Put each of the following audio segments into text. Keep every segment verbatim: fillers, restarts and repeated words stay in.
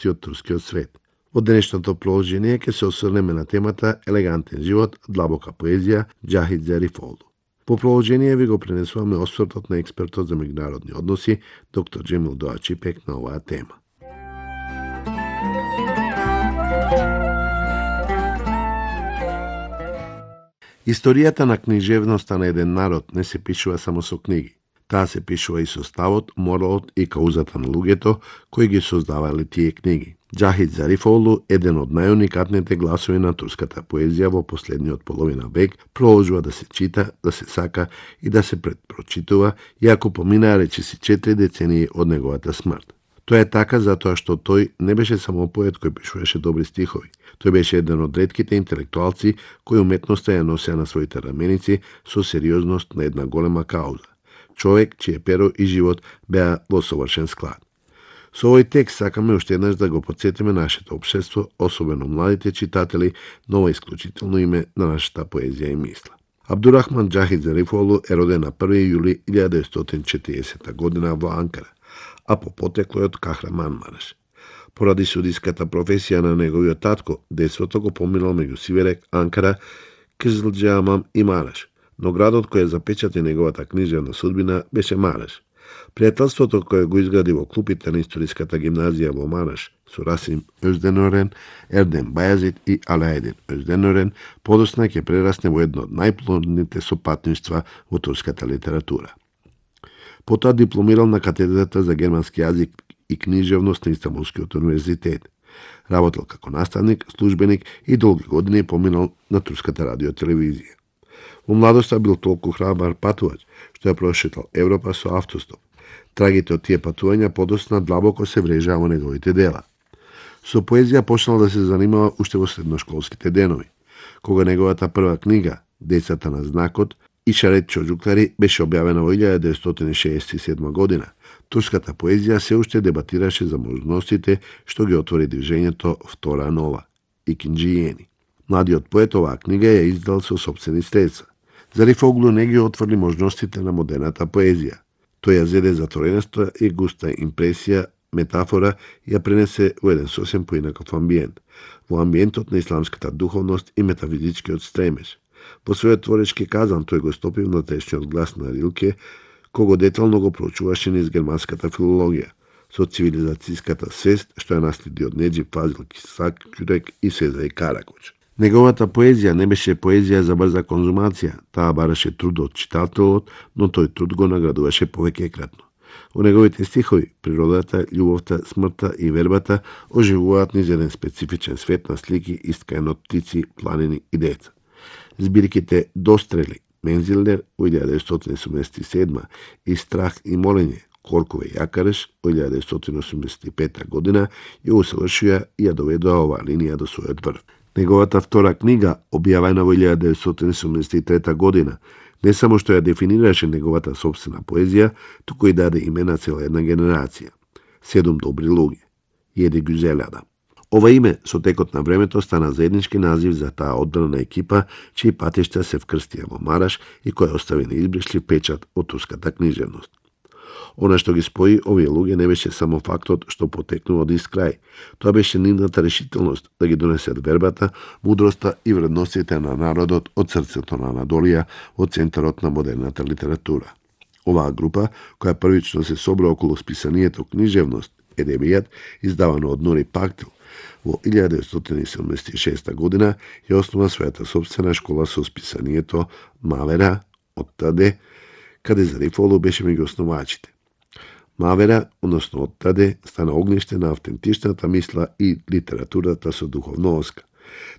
од турскиот свет. Во денешното положение ќе се осврнеме на темата елегантен живот, длабока поезија, Џахид Зарифоглу. По положение ви го пренесуваме освртот на експертот за меѓународни односи, доктор Џемил Доачипек, на оваа тема. Историјата на книжевноста на еден народ не се пишува само со книги. Таа се пишува и со ставот, моралот и каузата на луѓето кои ги создавале тие книги. Џахид Зарифоглу, еден од најуникатните гласови на турската поезија во последниот половина век, продолжува да се чита, да се сака и да се предпрочитува, иако поминаа речиси четири децении од неговата смрт. Тоа е така затоа што тој не беше само поет кој пишуваше добри стихови. Тој беше еден од ретките интелектуалци кои уметноста ја носеа на своите раменици со сериозност на една голема кауза. Човек чие перо и живот беа во совршен склад. Со овој текст сакаме уште еднаш да го потсетиме нашето општество, особено младите читатели, на ова исклучително име на нашата поезија и мисла. Абдурахман Џахид Зарифоглу е роден на први јули илјада деветстотини и четиридесета година во Анкара, а по потекло од Кахраманмараш. Поради судиската професија на неговиот татко, детството го поминал меѓу Сиверек, Анкара, Кызылџамам и Мараш, но градот кој запечати неговата книжевна судбина беше Мараш. Пријателството кое го изгради во клупите на историската гимназија во Мараш со Расим Озденорен, Ердем Бајазид и Алаедин Озденорен подосна ќе прерасне во едно од најплодните сопатништва во турската литература. Потоа дипломирал на катедрата за германски јазик и книжевност на Истанбулскиот универзитет. Работел како наставник, службеник и долги години поминал на турската радиотелевизија. Во младоста бил толку храбар патувач, што ја прошетал Европа со автостоп. Трагите од тие патувања подосна длабоко се врежаа во неговите дела. Со поезија почнал да се занимава уште во средношколските денови, кога неговата прва книга, Децата на знакот, Ишарет чоџуклари, беше објавена во илјада деветстотини шеесет и седма година. Турската поезија се уште дебатираше за можностите што ги отвори движењето Втора нова, Икинџијени. Младиот поет оваа книга ја издал со сопствени средства. Зарифоглу не ги отврли можностите на модерната поезија. Тој ја зеде затворената и густа импресија, метафора и ја пренесе во еден сосем поинаков амбиент, во амбиентот на исламската духовност и метафизичкиот стремеж. Во својот творечки казан тој го стопи внатрешниот глас на Рилке, кого детално го проучуваше низ германската филологија, со цивилизацијската свест што ја наследи од Неџип Фазил Кисак-Кјурек и Сезај Каракоч. Неговата поезија не беше поезија за брза конзумација, таа бараше труд од читателот, но тој труд го наградуваше повеќекратно. Во неговите стихови, природата, љубовта, смртта и вербата оживуваат низ еден специфичен свет на слики искаен од птици, планини и деца. Збирките Дострели, Мензилдер, во илјада деветстотини седумдесет и седма и Страх и молење, Коркове и Јакареш, во илјада деветстотини осумдесет и пета година, ја усавршија и ја доведоа оваа линија до својот врв. Неговата втора книга, објавена во илјада деветстотини седумдесет и трета година, не само што ја дефинираше неговата собствена поезија, туку и даде име на цела една генерација. Седум добри луѓе. Једи Гюзелјада. Ова име со текот на времето стана заеднички назив за таа одбрана екипа, чии патишта се вкрстија во Мараш и која остави неизбришлив печат од турската книжевност. Она што ги спои овие луѓе не беше само фактот што потекнува од ист крај. Тоа беше нивната решителност да ги донесат вербата, мудроста и вредностите на народот од срцето на Анадолија, од центарот на модерната литература. Оваа група, која првично се собра околу списанието книжевност, Едебијат, издавано од Нури Пактил, во илјада деветстотини седумдесет и шеста година ја основа својата собствена школа со списанието Мавера од Таде, каде Зарифоглу беше меѓу основачите. Мавера, односно од Таде, стана огниште на автентичната мисла и литературата со духовно оска.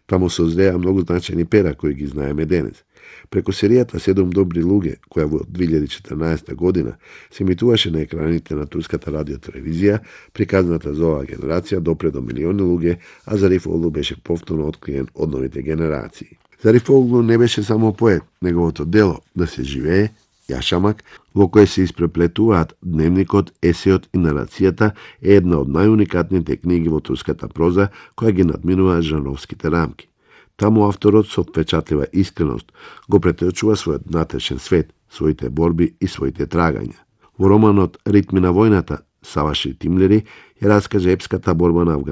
Таму созреа многу значајни пера кои ги знаеме денес. Преку серијата Седум добри луѓе, која во две илјади и четрнаесета година се емитуваше на екраните на турската радиотелевизија, приказната за оваа генерација допре до милиони луѓе, а Зарифоглу беше повторно откриен од новите генерации. Зарифоглу не беше само поет, неговото дело да се живее, Јашамак, во кој се испреплетуваат дневникот, есеот и нарацијата, е една од најуникатните книги во турската проза, која ги надминува жанровските рамки. Таму авторот со впечатлива искреност го претечува својот внатрешен свет, своите борби и своите трагања. Во романот Ритми на војната, Саваши Тимлери ја раскаже епската борба на Афганистан